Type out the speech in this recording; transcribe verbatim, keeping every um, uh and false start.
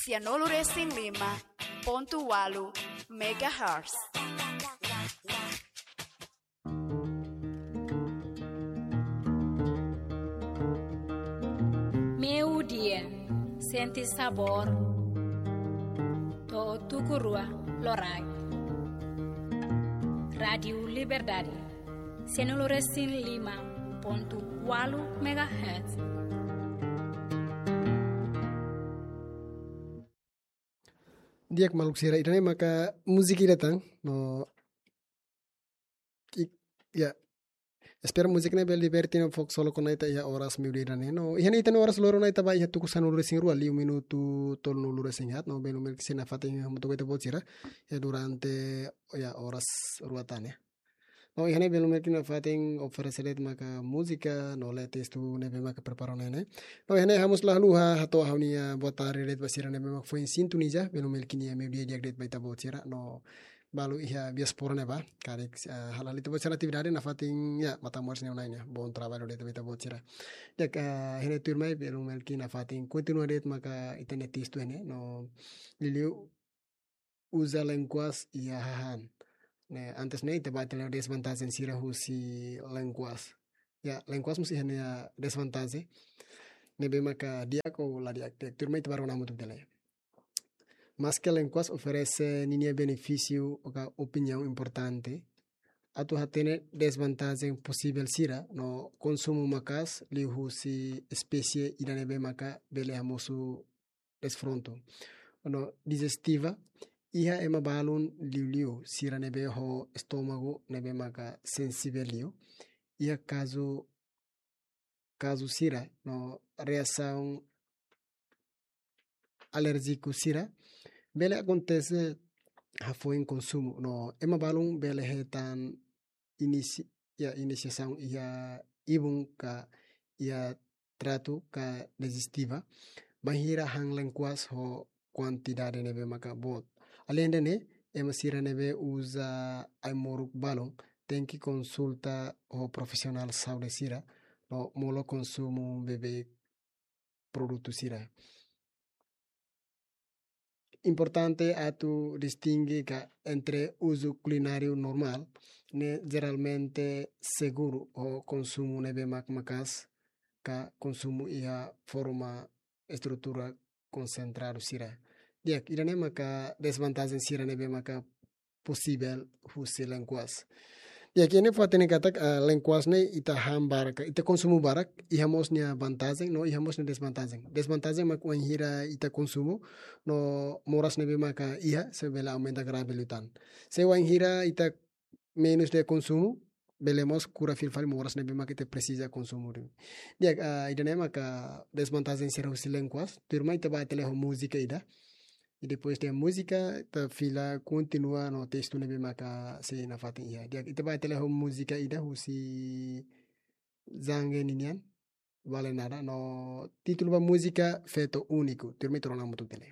Sianulu resin lima pontu walu megahertz. Meio-dia, sente sabor. To'o tuku rua loraik. Rádiu Liberdade, sianulu resin lima pontu walu megahertz. Di'ak maluk sira, ida-ne'e maka múzika ida tan, no, i-, ya. Espera múzika ne'e bele diverte no fok solo kona ita iha oras meio-dia ida-ne'e. No, iha ne'e ita-nia oras loron ne'e ita ba iha tuku sanulu resin rua, liu minutu tolunulu resin haat, no, belun belun ke sei nafatin hamutuk ho ita-boot sira. Ya, durante, ya, oras rua tan, ya. No, iha ne'e belun belun ke nafatin oferese de'it maka múzika, no lee testu ne'ebé maka prepara ona ne'e. No, iha ne'e ha'u mós la haluha hato'o ha'u-nia boa tarde de'it ba sira ne'ebé maka foin sintoniza, belun belun ke nia meio-dia di'ak de'it ba ita-boot sira. No, balu iha diáspora ne'ebá, karik, eh, hala'o ita-boot sira atividade nafatin, ya, matan-moris ne'e ona ne'e, bom trabalho de'it ba ita-boot sira. Di'ak, eh, iha ne'e tuirmai, belun belun ke nafatin kontinua de'it maka ita-nia testu ne'e, no, liuliu uza lenguas iha hahán. Ne'e, antes ne'e, ita ba ita lee desvantajen sira husi lenguas. Ya, lenguas mós iha nia desvantajen. Ne'ebé maka di'ak ou la di'ak, di'ak. Tuirmai ita ba rona hamutuk ita lee. Maske lenguas oferese ninia benefísiu ka opiniaun importante, atu hatene desvantajen posivel sira, no konsumu maka'as liuhusi espésie ida ne'ebé maka bele hamosu desfrontu. No dijestiva, iha ema balun liuliu sira ne'ebé ho estómagu ne'ebé maka sensivel liu. Iha kazu, kazu sira, no reasaun alérjiku sira bele akontese hafoin konsumu. No ema balun bele hetan inisi-, ya, inisiasaun iha ibun ka iha traktu ka dijestiva, bainhira han lenguas ho kuantidade ne'ebé maka boot. Aleinde ne'e, ema sira ne'ebé uza ai-moruk balun tenke konsulta ho profisionál saúde sira, no molok konsumu beibeik produtu sira. Importante atu distinge ka entre uzu kulináriu normál, ne'e jeralmente seguru, ho konsumu ne'ebé mak maka'as, ka konsumu iha forma estrutura konsentradu sira. Di'ak, ida-ne'e maka desvantajen sira ne'ebé maka posivel husi lenguas. Di'ak, iha ne'e fó hatene katak, ah, lenguas ne'e ita han barak, ita konsumu barak, iha mós nia vantajen, no iha mós nia desvantajen. Desvantajen mak wainhira ita konsumu, no moras ne'ebé maka iha, sei bele aumenta grave liután. Se wainhira ita menus de'it konsumu, bele mós kura fila fali moras ne'ebé maka ita presiza konsumu de'it. Di'ak, ah, ida-ne'e maka desvantajen sira husi lenguas, tuirmai ita ba ita lee ho múzika ida. I depois de múzika, ita fila kontinua no testu ne'ebé maka sei nafatin iha. Di'ak, ita ba ita lee ho múzika ida husi Zange ninian, Vale Nada, no títulu ba múzika Feto Único. Tuirmai ita rona hamutuk ita lee.